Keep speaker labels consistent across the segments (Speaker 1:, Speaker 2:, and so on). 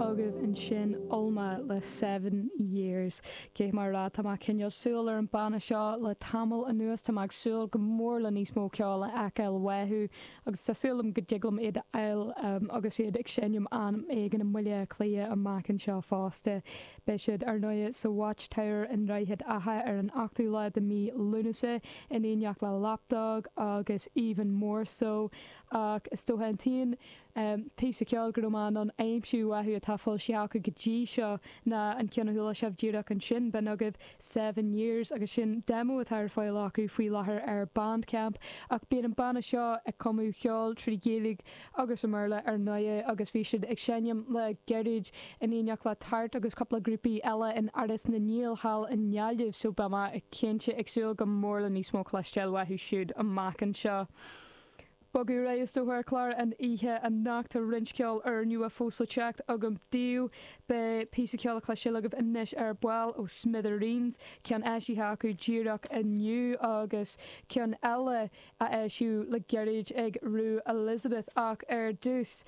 Speaker 1: agaibh ansin Ulma le Seven Years. Caithfidh mé a rá, tá mé cineál súil ar an banna seo le tamall anuas, tá mé ag súil go mór le níos mó ceoil a fheiceáil uathu agus tá súil agam go dtig liom iad a fháil agus iad ag seinm am éigin i mBaile Átha Cliath amach anseo fosta. Beidh siad, ar ndóigh, sa Watchtower i nDroichead Átha ar an 8ú lá de mhí Lúnasa in éineacht le Lapdog agus Even More So ach is dócha an t-aon píosa ceoil go raibh mé in ann aimsiú uathu atá foilsithe acu go dtí seo ná an ceann a chuala sibh díreach ansin, b'in agaibh Seven Years agus sin demo atá ar fáil acu faoi láthair ar Bandcamp. Ach bíonn an banna seo ag cumadh cheoil trí Ghaeilge agus i mBéarla ar ndóigh agus bhí siad ag seinm le gairid in éineacht le Tart agus cúpla grúpaí eile in Áras na nGael thall i nGaillimh so beidh mé cinnte ag súil go mór le níos mó cloisteáil uathu siúd amach anseo. Bogadh ar aghaidh is dócha ar chlár an oíche anocht. Tá roinnt ceoil úrnua fós le teacht agam daoibh. Beidh píosa ceoil le cloisteáil agaibh anois ar ball ó Smithereens, ceann eisithe acu díreach inniu agus ceann eile a eisíodh le gairid ag Rue Elizabeth. Ach ar dtús,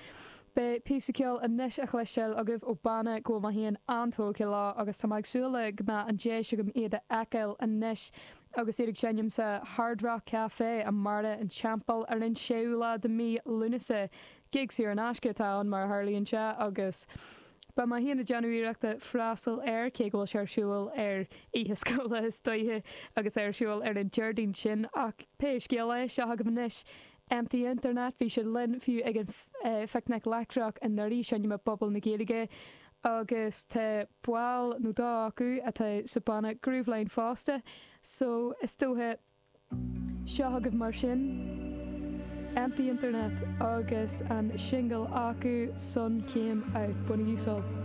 Speaker 1: beidh píosa ceoil anois a chloisteáil agaibh ó banna go bhfuil mé féin an-tógtha leo agus tá mé ag súil le go mbeadh an deis agam iad a fheiceáil anois. Agus iad ag seinm sa Hard Rock Café i mBarra an Teampaill ar an 6ú lá de mí Lúnasa. Gig saor in aisce atá ann mar a tharlaíonn sé agus beidh mé féin ag déanamh iarrachta freastal air cé go bhfuil sé ar siúl ar oíche scoile is dóiche agus é ar siúl ar an Déardaoin sin ach pé scéal é, seo agaibh anois Empty Internet, bhí siad linn fiú ag an Phicnic Leictreach anuraidh, seinm i bPuball na Gaeilge agus tá ball nó dó acu atá sa banna Grooveline fosta so is dócha Seo agaibh mar sin Empty Internet agus an singil acu Sun Came Out. Bainigí sult.